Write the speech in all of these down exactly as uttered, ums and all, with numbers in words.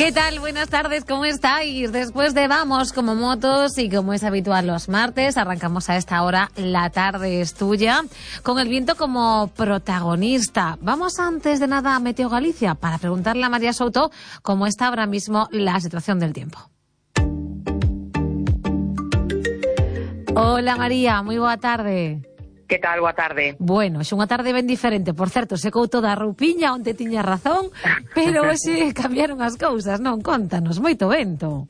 ¿Qué tal? Buenas tardes, ¿cómo estáis? Después de Vamos como motos y como es habitual los martes, arrancamos a esta hora La tarde es tuya, con el viento como protagonista. Vamos antes de nada a Meteo Galicia para preguntarle a María Souto cómo está ahora mismo la situación del tiempo. Hola María, moi boa tarde. Que tal? Boa tarde. Bueno, é unha tarde ben diferente. Por certo, secou toda a roupiña, onte tiña razón, pero hoxe cambiaron as cousas, non? Contanos, moito vento.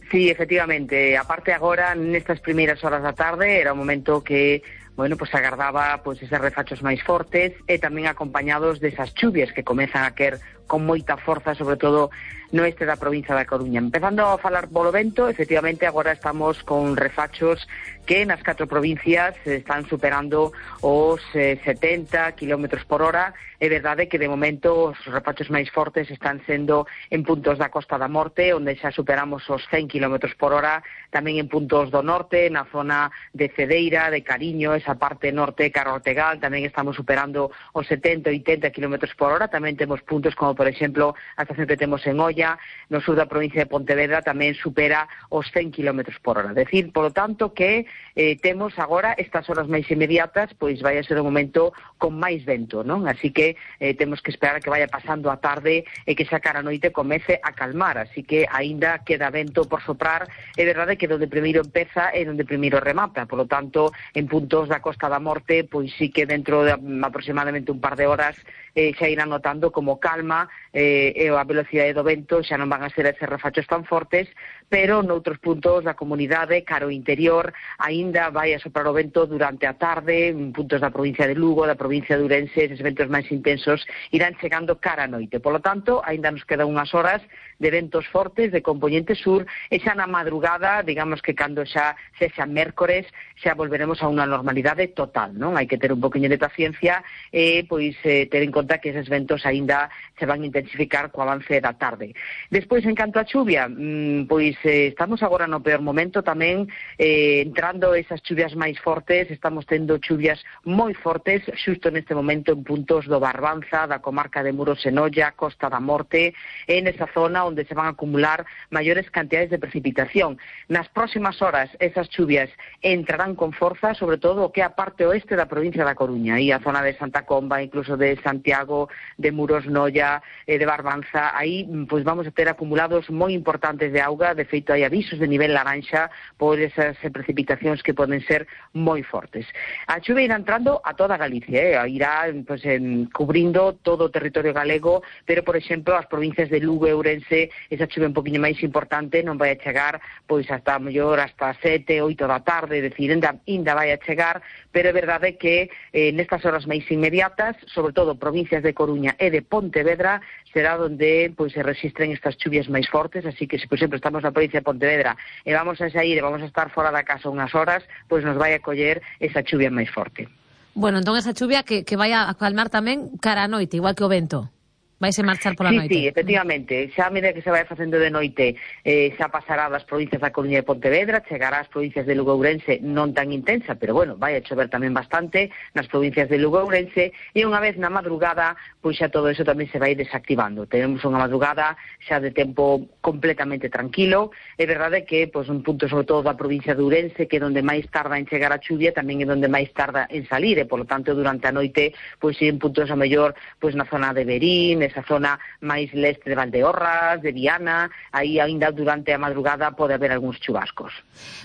Sí, efectivamente. Aparte agora, nestas primeiras horas da tarde, era o momento que, bueno, pues agardaba pues eses refachos máis fortes e tamén acompañados desas chuvias que comezan a quer con moita forza, sobre todo no este da provincia da Coruña. Empezando a falar polo vento, efectivamente agora estamos con refachos que nas catro provincias están superando os eh, setenta kilómetros por hora. É verdade que de momento os refachos máis fortes están sendo en puntos da Costa da Morte, onde xa superamos os cen kilómetros por hora, tamén en puntos do norte, na zona de Cedeira, de Cariño, esa parte norte, Carro Ortegal, tamén estamos superando os setenta, oitenta kilómetros por hora. Tamén temos puntos como, por exemplo, a estación que temos en Oia, no sur da provincia de Pontevedra, tamén supera os cen kilómetros por hora. Decir, polo tanto, que eh, temos agora estas horas máis inmediatas, pois vai a ser un momento con máis vento, non? Así que eh, temos que esperar a que vaya pasando a tarde e que xa cara a noite comece a calmar, así que aínda queda vento por soprar. É verdade que donde primeiro empeza é donde primeiro remata, polo tanto, en puntos da Costa da Morte, pois sí que dentro de aproximadamente un par de horas eh, xa irán notando como calma eh, e a velocidade do vento xa non van a ser eses refachos tan fortes, pero noutros puntos da comunidade, caro interior, aínda vai a soprar o vento durante a tarde, en puntos da provincia de Lugo, da provincia de Ourense, eses ventos máis intensos irán chegando cara a noite. Por lo tanto, aínda nos quedan unhas horas de ventos fortes de componente sur, e xa na madrugada, digamos que cando xa sexa mércores, xa volveremos a unha normalidade total, non? Hai que ter un poquinho de paciencia e, pois, eh, ter en conta que eses ventos aínda se van a intensificar co avance da tarde. Despois, en canto a chuvia, mmm, pois eh, estamos agora no peor momento tamén, eh, entrando esas chuvias máis fortes, estamos tendo chuvias moi fortes, xusto neste momento en puntos do Barbanza, da comarca de Muros e Noia, Costa da Morte, en esa zona onde se van a acumular maiores cantidades de precipitación. Nas próximas horas, esas chuvias entrarán con forza, sobre todo o que é a parte oeste da provincia da Coruña, e a zona de Santa Comba, incluso de Santiago, de Muros, Noia, eh, de Barbanza. Aí, pois vamos a ter acumulados moi importantes de auga. De feito, hai avisos de nivel laranxa por esas precipitacións que poden ser moi fortes. A chuvia irá entrando a toda Galicia, eh? irá pues, en, cubrindo todo o territorio galego, pero, por exemplo, as provincias de Lugo e Ourense, esa chuvia un poquinho máis importante non vai a chegar pois hasta mellor hasta sete, oito da tarde, é dicir, ainda, ainda vai a chegar, pero é verdade que eh, nestas horas máis inmediatas, sobre todo provincias de Coruña e de Pontevedra, será onde pois se registren estas chuvias máis fortes, así que se, por exemplo, estamos na provincia de Pontevedra e vamos a sair e vamos a estar fora da casa unhas horas, pois nos vai a coller esa chuvia máis forte. Bueno, entón esa chuvia que, que vai a calmar tamén cara a noite, igual que o vento. Vais a marchar pola sí, noite. Sí, efectivamente. Xa a medida que se vai facendo de noite, eh, xa pasará das provincias da Coruña e Pontevedra, chegará ás provincias de Lugo e Ourense non tan intensa, pero bueno, vai a chover tamén bastante nas provincias de Lugo e Ourense, e unha vez na madrugada, pois xa todo eso tamén se vai desactivando. Tenemos unha madrugada xa de tempo completamente tranquilo. É verdade que, pois, un punto sobre todo da provincia de Ourense, que é onde máis tarda en chegar a chuvia, tamén é onde máis tarda en salir, e, polo tanto, durante a noite, pois, en puntos a mellor, pois, na zona de Verín, esa zona máis leste de Valdeorras, de Viana, aí aínda durante a madrugada pode haber algúns chubascos.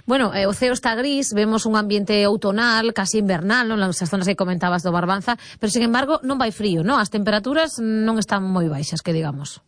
Bueno, eh, o ceo está gris, vemos un ambiente outonal, casi invernal, non? Nas zonas que comentabas do Barbanza, pero, sin embargo, non vai frío, non? As temperaturas non están moi baixas, que digamos.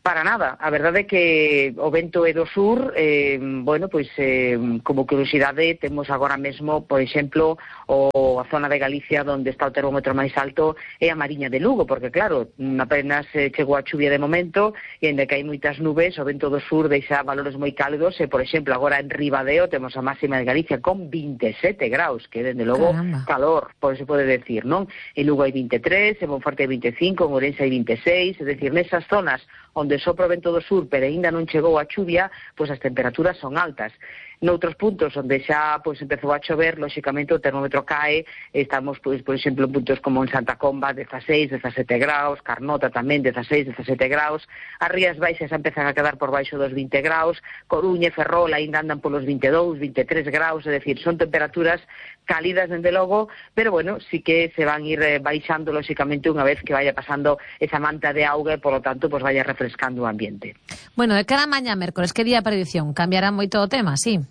Para nada, a verdade é que o vento é do sur, eh, bueno, pois eh, como curiosidade temos agora mesmo, por exemplo, o, a zona de Galicia onde está o termómetro máis alto é a Mariña de Lugo, porque claro, apenas eh, chegou a chuvia de momento e ainda que hai moitas nubes, o vento do sur deixa valores moi cálidos e, por exemplo, agora en Ribadeo temos a máxima de Galicia con vinte e sete graus, que dende logo Caramba. calor, por se pode decir, non? En Lugo hai vinte e tres, en Monforte hai vinte e cinco, en Ourense hai vinte e seis, é dicir, nesas zonas onde sopra o vento do sur, pero aínda non chegou a chuvia, pois as temperaturas son altas. Noutros puntos onde xa pois empezou a chover, lóxicamente o termómetro cae, estamos, pois, por exemplo, en puntos como en Santa Comba, dezaseis, dezasete graus, Carnota tamén, dezaseis, dezasete graus, as Rías Baixas empezan a quedar por baixo dos vinte graus, Coruña e Ferrol aínda andan polos vinte e dous, vinte e tres graus, é dicir, son temperaturas cálidas, dende logo, pero, bueno, sí que se van ir eh, baixando, lóxicamente, unha vez que vaya pasando esa manta de auga e, por lo tanto, pues vaya refrescando o ambiente. Bueno, de cara a mañá mércoles, que día a predición? Cambiará moito o tema, sí?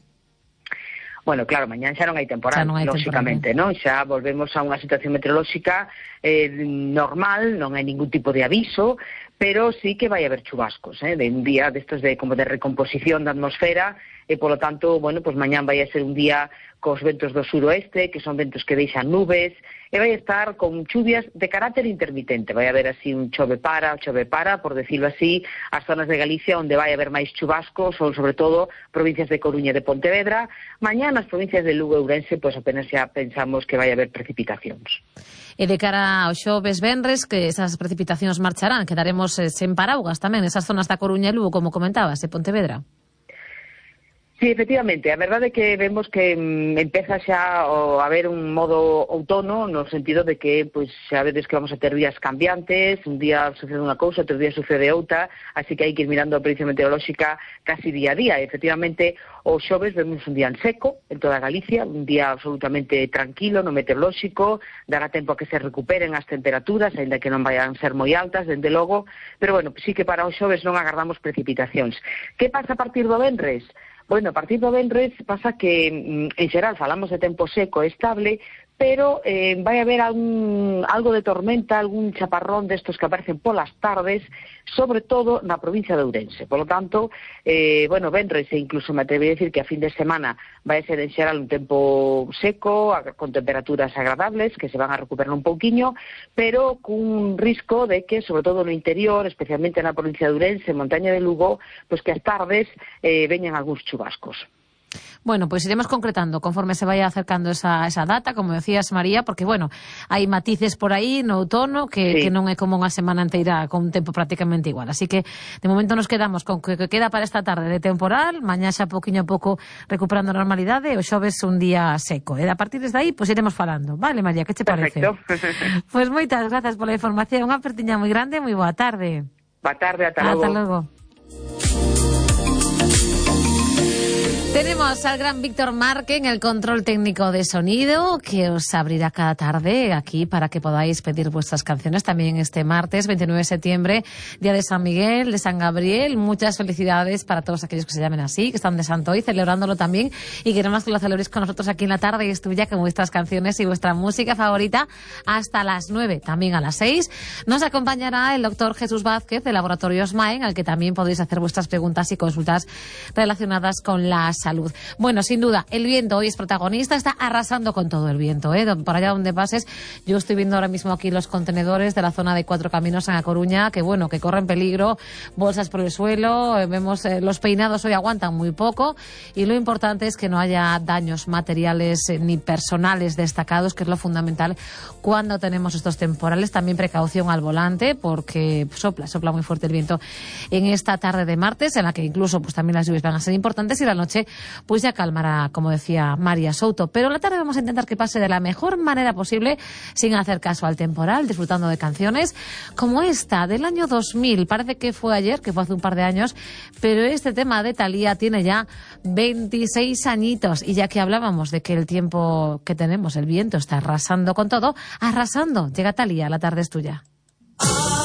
Bueno, claro, mañán xa non hai temporal, non hai lóxicamente, temporal, non? Xa volvemos a unha situación meteorolóxica eh, normal, non hai ningún tipo de aviso, pero sí que vai haber chubascos, eh, de un día destos de como de recomposición da atmosfera, e polo tanto, bueno, pues mañán vai a ser un día cos ventos do suroeste, que son ventos que deixan nubes, e vai estar con chuvias de carácter intermitente. Vai haber así un chove para, chove para, por decirlo así, as zonas de Galicia onde vai haber máis chubascos son sobre todo provincias de Coruña e de Pontevedra. Mañán nas provincias de Lugo e Ourense, pois apenas xa pensamos que vai haber precipitacións. E de cara ao xoves venres, que esas precipitacións marcharán, quedaremos eh, sen paraugas tamén nesas zonas da Coruña e Lugo, como comentabas, e Pontevedra. Sí, efectivamente, a verdade é que vemos que mm, empeza xa o, a haber un modo outono, no sentido de que pois xa vedes que vamos a ter días cambiantes, un día sucede unha cousa, outro día sucede outra, así que hai que ir mirando a predicción meteorolóxica casi día a día. E, efectivamente, o xoves vemos un día en seco en toda Galicia, un día absolutamente tranquilo no meteorolóxico, dará tempo a que se recuperen as temperaturas, aínda que non vayan ser moi altas, dende logo, pero, bueno, sí que para o xoves non agardamos precipitacións. Que pasa a partir do venres? Bueno, a partir do venres pasa que, en xeral, falamos de tempo seco e estable, pero eh, vai haber algún, algo de tormenta, algún chaparrón destos que aparecen polas tardes, sobre todo na provincia de Ourense. Por lo tanto, eh, bueno, venres e incluso me atrevo a decir que a fin de semana vai ser en xeral un tempo seco, con temperaturas agradables, que se van a recuperar un pouquiño, pero cun risco de que, sobre todo no interior, especialmente na provincia de Ourense, montaña de Lugo, pues que as tardes eh, veñan algúns chubascos. Bueno, pues iremos concretando conforme se vaya acercando esa, esa data, como decías, María, porque, bueno, hai matices por aí no outono que, sí. que non é como unha semana inteira con un tempo prácticamente igual. Así que, de momento, nos quedamos con que, que queda para esta tarde de temporal, mañá xa poquinho a pouco recuperando a normalidade, o xoves un día seco. E a partir desde aí, pues iremos falando. Vale, María, que che parece? Perfecto. Pues moitas grazas pola información, unha apertiña moi grande, moi boa tarde. Boa tarde, ata logo. Ata logo. Tenemos al gran Víctor Marque en el control técnico de sonido, que os abrirá cada tarde aquí para que podáis pedir vuestras canciones también este martes veintinueve de septiembre, día de San Miguel, de San Gabriel. Muchas felicidades para todos aquellos que se llamen así, que están de santo hoy, celebrándolo también, y queremos que lo celebréis con nosotros aquí en la tarde y es tuya con vuestras canciones y vuestra música favorita hasta las nueve, también a las seis. Nos acompañará el doctor Jesús Vázquez de Laboratorios Maen, al que también podéis hacer vuestras preguntas y consultas relacionadas con la salud. Bueno, sin duda, el viento hoy es protagonista, está arrasando con todo el viento, ¿eh? Por allá donde pases, yo estoy viendo ahora mismo aquí los contenedores de la zona de Cuatro Caminos en A Coruña, que bueno, que corren peligro, bolsas por el suelo, eh, vemos eh, los peinados hoy aguantan muy poco, y lo importante es que no haya daños materiales eh, ni personales destacados, que es lo fundamental cuando tenemos estos temporales. También precaución al volante, porque sopla, sopla muy fuerte el viento en esta tarde de martes, en la que incluso pues también las lluvias van a ser importantes, y la noche pues ya calmará, como decía María Souto. Pero la tarde vamos a intentar que pase de la mejor manera posible, sin hacer caso al temporal, disfrutando de canciones como esta, del año dos mil. Parece que fue ayer, que fue hace un par de años, pero este tema de Thalía tiene ya veintiséis añitos. Y ya que hablábamos de que el tiempo que tenemos, el viento, está arrasando con todo, arrasando. Llega Thalía, la tarde es tuya.